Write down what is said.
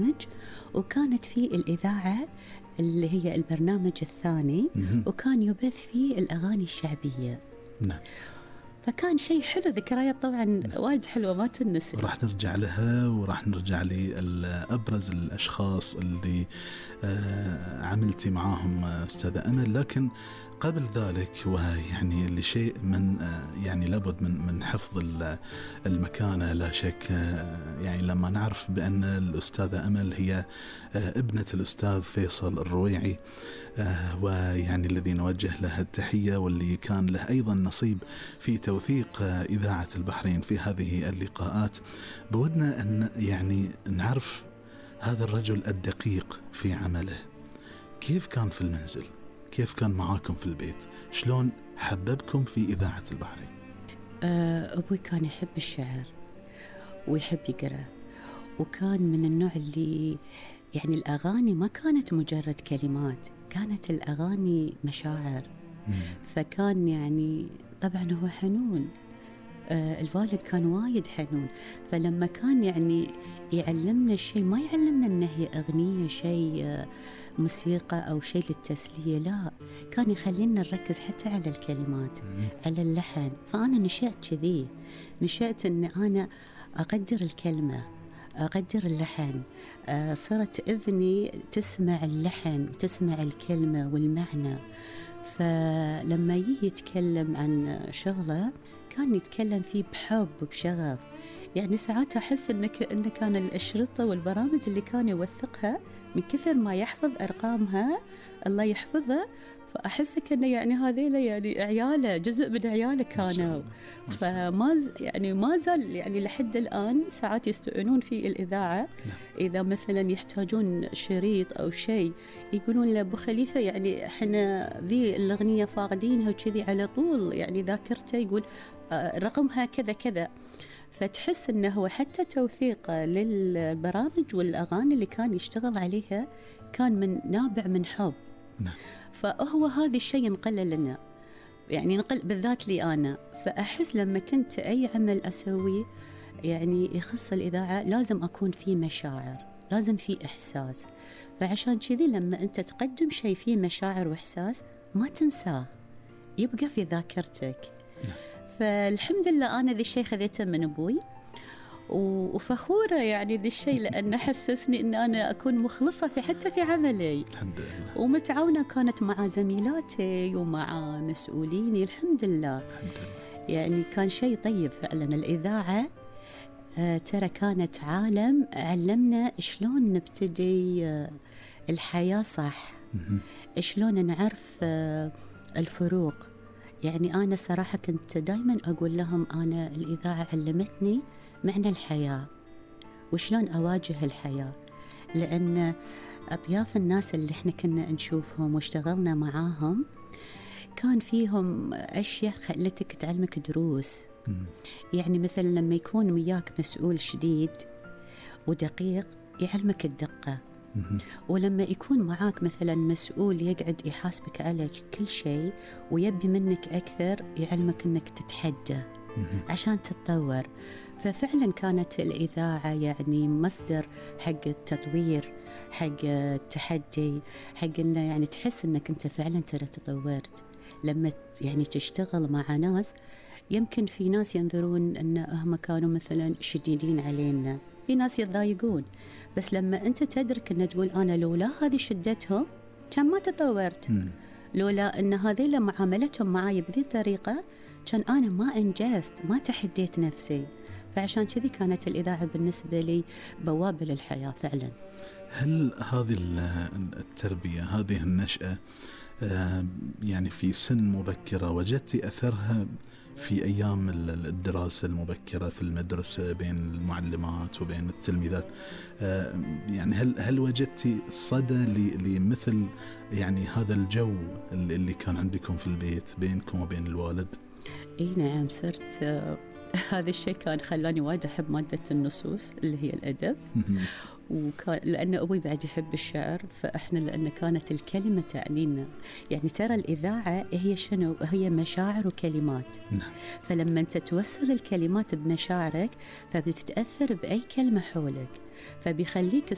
برنامج، وكانت في الإذاعة اللي هي البرنامج الثاني، وكان يبث فيه الأغاني الشعبية. نعم. فكان شيء حلو، ذكريات طبعا وايد حلوة ما تنسي. وراح نرجع لها، وراح نرجع لأبرز الأشخاص اللي عملتي معاهم أستاذة أمل. لكن قبل ذلك، ويعني لشيء من يعني لابد من حفظ المكانة لا شك، يعني لما نعرف بأن الأستاذة أمل هي ابنة الأستاذ فيصل الرويعي، ويعني الذي نوجه له التحية، واللي كان له أيضا نصيب في توثيق إذاعة البحرين في هذه اللقاءات، بودنا أن يعني نعرف هذا الرجل الدقيق في عمله. كيف كان في المنزل؟ كيف كان معاكم في البيت؟ شلون حببكم في إذاعة البحرين؟ أبوي كان يحب الشعر ويحب يقرأ، وكان من النوع اللي يعني الأغاني ما كانت مجرد كلمات، كانت الأغاني مشاعر. فكان يعني طبعا هو حنون، الوالد كان وايد حنون، فلما كان يعني يعلمنا الشيء ما يعلمنا أنه هي أغنية شيء موسيقى أو شيء للتسلية، لا، كان يخلينا نركز حتى على الكلمات، على اللحن. فأنا نشأت كذي، نشأت أن أنا أقدر الكلمة، أقدر اللحن، صارت إذني تسمع اللحن وتسمع الكلمة والمعنى. فلما يتكلم عن شغله كان يتكلم فيه بحب وبشغف. يعني ساعات أحس إن كان الأشرطة والبرامج اللي كان يوثقها من كثر ما يحفظ أرقامها الله يحفظها، فأحس كأنه يعني هذيلا يعني عياله، جزء من عياله كانوا. فما يعني ما زال يعني لحد الآن ساعات يستعنون في الإذاعة، إذا مثلا يحتاجون شريط أو شيء يقولون لأبو خليفة يعني إحنا ذي الأغنية فاقدينها وكذي، على طول يعني ذاكرته يقول رقمها كذا كذا. فتحس أنه هو حتى توثيق للبرامج والأغاني اللي كان يشتغل عليها كان من نابع من حب. فهو هذا الشيء ينقل لنا، يعني نقل بالذات لي أنا. فأحس لما كنت أي عمل أسويه يعني يخص الإذاعة لازم أكون فيه مشاعر، لازم فيه إحساس. فعشان كذي لما أنت تقدم شيء فيه مشاعر وإحساس ما تنساه، يبقى في ذاكرتك. فالحمد لله أنا ذي الشيء خذيته من أبوي، وفخورة يعني ذي الشيء، لأنه حسسني أن أنا أكون مخلصة حتى في عملي. الحمد لله. ومتعاونة كانت مع زميلاتي ومع مسؤوليني، الحمد لله. يعني كان شيء طيب فعلا. الإذاعة ترى كانت عالم علمنا شلون نبتدي الحياة صح، شلون نعرف الفروق. يعني أنا صراحة كنت دايما أقول لهم أنا الإذاعة علمتني معنى الحياة وشلون أواجه الحياة، لأن أطياف الناس اللي احنا كنا نشوفهم واشتغلنا معاهم كان فيهم أشياء خلتك تعلمك دروس. يعني مثلا لما يكون وياك مسؤول شديد ودقيق يعلمك الدقة، ولما يكون معاك مثلا مسؤول يقعد يحاسبك على كل شيء ويبي منك أكثر يعلمك أنك تتحدى عشان تتطور. ففعلا كانت الإذاعة يعني مصدر حق التطوير، حق التحدي، حق أنه يعني تحس أنك أنت فعلا ترى تطورت. لما يعني تشتغل مع ناس، يمكن في ناس ينظرون أن هم كانوا مثلا شديدين علينا، في ناس يتضايقون، بس لما أنت تدرك أن تقول أنا لولا هذه شدتهم كان ما تطورت، لولا أن هذه معاملتهم معي بذي الطريقة كان أنا ما أنجزت، ما تحديت نفسي. فعشان كذي كانت الإذاعة بالنسبة لي بوابة للحياة فعلا. هل هذه التربية، هذه النشأة يعني في سن مبكرة وجدت أثرها في أيام الدراسة المبكرة في المدرسة بين المعلمات وبين التلميذات؟ يعني هل وجدت صدى لمثل يعني هذا الجو اللي كان عندكم في البيت بينكم وبين الوالد؟ إيه نعم، صرت هذا الشيء كان خلاني وايد أحب مادة النصوص اللي هي الأدب، وكان لأن أبوي بعد يحب الشعر، فإحنا لأن كانت الكلمة تعنينا. يعني ترى الإذاعة هي شنو؟ هي مشاعر وكلمات. فلما أنت توصل الكلمات بمشاعرك فبتتأثر بأي كلمة حولك، فبيخليك